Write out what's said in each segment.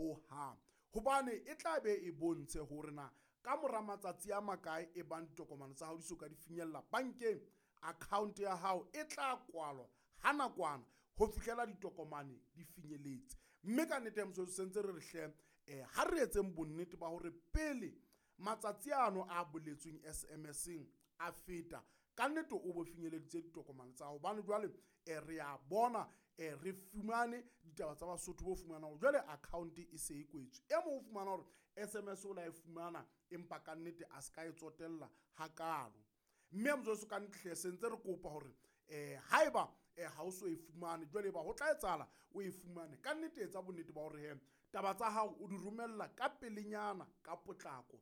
Hohang. Hobane e tla be e bontshe hore na ka mora matsatsi a makae e bang ditokomane tsa hao di so ka di finyella bankeng, account ya hao e tla kwalwa ha nakwana ho fihlela ditokomane di finyeletse. Mme ka nnete ya mosebetsi sentse re re hle ha re etseng bonnete ba hore pele matsatsi ano a boletsweng SMS-eng a feta, ka nnete o bo finyeleditse ditokomane tsa hao. Hobane jwale re a bona re fumane ditaba tsa Basotho bo fumana hore jwale account e se e kwetswe. E mong o fumana hore SMS o la e fumana empa ka nnete a se ka e tsotella hakalo. Mme motswaso ka nnete hle sentse re kopa hore haeba ha o so e fumane jwale eba ho tla etsahala o e fumane, ka nnete etsa bonnete ba hore he taba tsa hao o di romella ka pelenyana ka potlako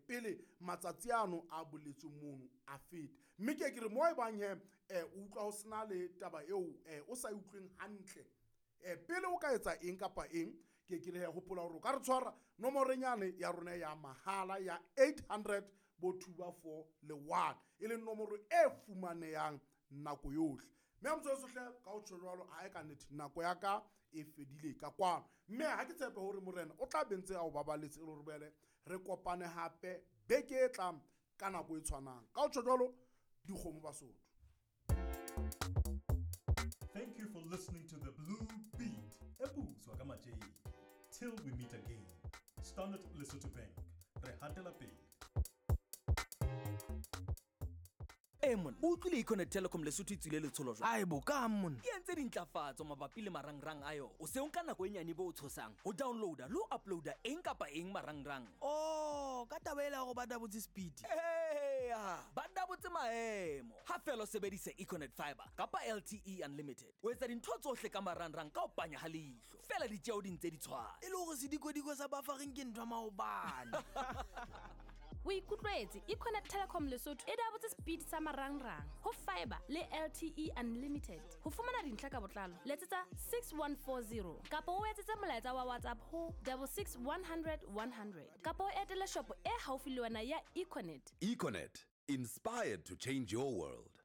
pele matsatsi ano a boletsweng mono a feta. Mme ke ke re mo e bang he o utlwa ho sena le taba eo o sa e utlweng hantle, pele o ka etsa eng kapa eng, ke ke re he hopola hore o ka re tshwara nomoreng yane ya rona ya mahala ya 800 bo 2 4 le 1, e leng nomoro e fumanehang nako yohle. Mme motswaso hle ka ho tjho jwalo, ha ka nnete nako ya ka e fedile ka kwano. Mme ha ke tshepe hore morena o tla be ntse a o babaletse e le hore boele re kopane hape beke e tlang ka nako e tshwanang. Ka ho tjho jwalo, dikgomo Basotho. Thank you for listening to the Blue Beat. Ebuzwa ka Matjeng. Till we meet again. Standard Lesotho Bank. Re hatela pele. E monna, o utlwile Econet Telecom Lesotho e tswile letsholo jwang? Ae bo kang monna. E entse dintlafatso mabapi le marangrang a yona. O se o nka nako e nyane bo o tshosang ho downloada le ho uploada eng kapa eng marangrang. Oh, ka taba ela hore ba dabotse speed. Eya, ba dabotse maemo. Ha fela o sebedisa Econet Fiber kapa LTE Unlimited. O etsa dintho tsohle ka marangrang ka ho panya ha leihlo. Fela ditjeo di ntse di tshwana. E le hore sedikodiko sa bafareng ke ntho ya maobane. O ikutlwetse Econet Telecom Lesotho e dabotse speed sa marangrang ho fiber le LTE Unlimited. Ho fumana dintlha ka botlalo letsetsa 6140 kapa o etsetse molaetsa wa WhatsApp ho 66100 100 kapa o etele shopo e haufi le wena ya Econet. Econet, inspired to change your world.